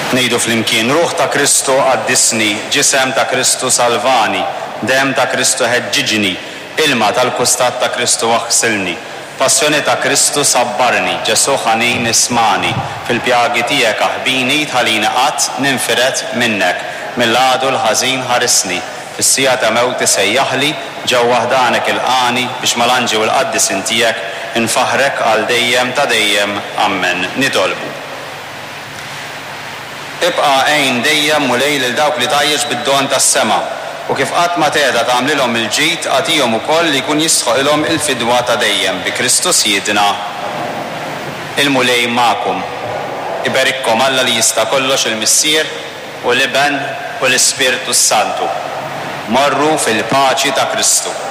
Ngħidu flimkien, Ruħ ta' Kristu qaddisni, Ġisem ta' Kristu salvani, Demm ta' Kristu ħeġġiġni, Ilma tal-kustat ta' Kristu aħsilni, Passjoni ta' Kristu sabbarni, Ġesù ħanin ismagħni, Fil-pjagi tiegħek aħbini, Tħallini qatt ninfired minnek, Mill-għadu l-ħażin ħarisni, Fis-siegħa ta' mewti sejjaħli, Ġewwa ħdanek ilqagħni, Biex mal-anġi u l-qaddisin tiegħek Infaħħrek għal dejjem ta' dejjem. Ammen. Nitolbu. Ibqa' għin dejjem, Mulej, lil dawk li tgħajjex bid-don tas-sema, u kif qatt ma tgħeda tagħmlilhom il-ġid, agħtihom ukoll li jkun jistħoqilhom il-fidwa ta' dejjem, bi Kristu Sidna. Il-Mulej magħkom. Iberikkom Alla li jista' kollox, il-Missier, u l-Iben, u l-Ispirtu s-Santu. Morru fil-paċi ta' Kristu.